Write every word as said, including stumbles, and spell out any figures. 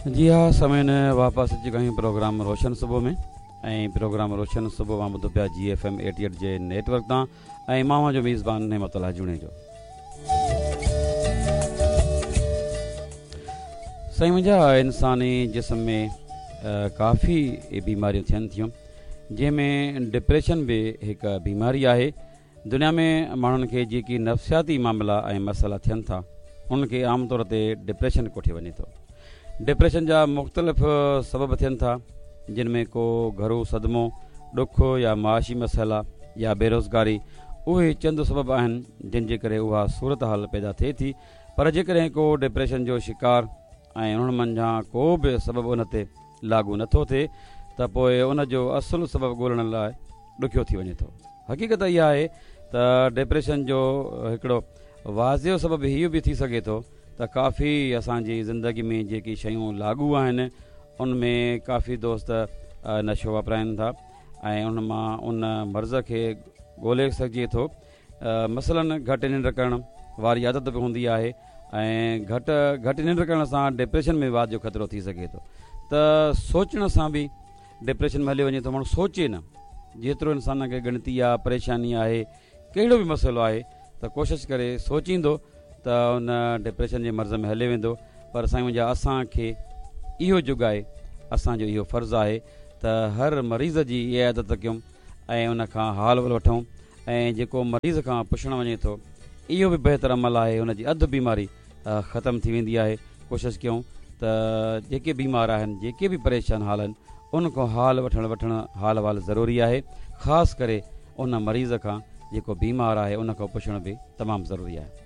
जी हा सामीन, वापसि अची विया आहियूं प्रोग्राम रोशन सुबुह में ऐं प्रोग्राम रोशन सुबुह मां ॿुधो पिया जी एफ एम अठाहठि जे नेटवर्क तां ऐं मां जो मेज़बान नेमतुल्लाह जुणेजो। साईं मुंहिंजा, इंसानी जिस्म में काफ़ी बीमारियूं थियनि थियूं, जंहिंमें डिप्रेशन बि हिकु बीमारी आहे। दुनिया में माण्हुनि खे जेके नफ़्सियाती मामला ऐं मसइला थियनि था उन्हनि खे आम तौर ते डिप्रेशन कोठियो वञे थो। डिप्रेशन जा मुख़्तलिफ़ सबब थियनि था, जिन में को घरू सदमो, ॾुख या माशी मसइला या बेरोज़गारी, उहे चंद सबब आहिनि जिन जे करे उहा सूरत हाल पैदा थिए थी। पर जेकॾहिं को डिप्रेशन जो शिकार ऐं उन्हनि मंझां को बि सबब उन ते लागू नथो थिए त पोइ उन जो असुलु सबबु ॻोल्हण लाइ ॾुखियो थी वञे थो। हक़ीक़त इहा आहे त डिप्रेशन जो हिकिड़ो वाज़ियो सबबु इहो बि थी सघे थो त काफ़ी असांजी ज़िंदगी में जेकी शयूं लागू आहिनि उन में काफ़ी दोस्त नशो वापराइनि था ऐं उन मां उन मर्ज़ खे ॻोल्हे सघिजे थो। मसलन घटि निंड करण वारी आदत बि हूंदी आहे ऐं घटि घटि निंड करण सां डिप्रेशन में वाध जो ख़तरो थी सघे थो। त सोचण सां बि डिप्रेशन में हलियो वञे थो। माण्हू सोचे न, जेतिरो इंसान खे गिणती आहे, परेशानी आहे, कहिड़ो बि मसइलो आहे त कोशिशि करे सोचींदो त उन डिप्रेशन जे मर्ज़ में हले वेंदो। पर साईं मुंहिंजा, असांखे इहो जुग आहे, असांजो इहो फ़र्ज़ु आहे त हर मरीज़ जी इहा आदत कयूं ऐं उन खां हाल वल वठूं ऐं जेको मरीज़ खां पुछणु वञे थो इहो बि बहितर अमल आहे, हुन जी अधु बीमारी ख़तमु थी वेंदी आहे। कोशिशि कयूं त जेके बीमार आहिनि, जेके बि परेशान हाल आहिनि, उन खां हाल वठणु वठणु हाल वाल ज़रूरी आहे। ख़ासि करे उन मरीज़ खां जेको बीमार आहे उन खां पुछणु बि तमामु ज़रूरी आहे।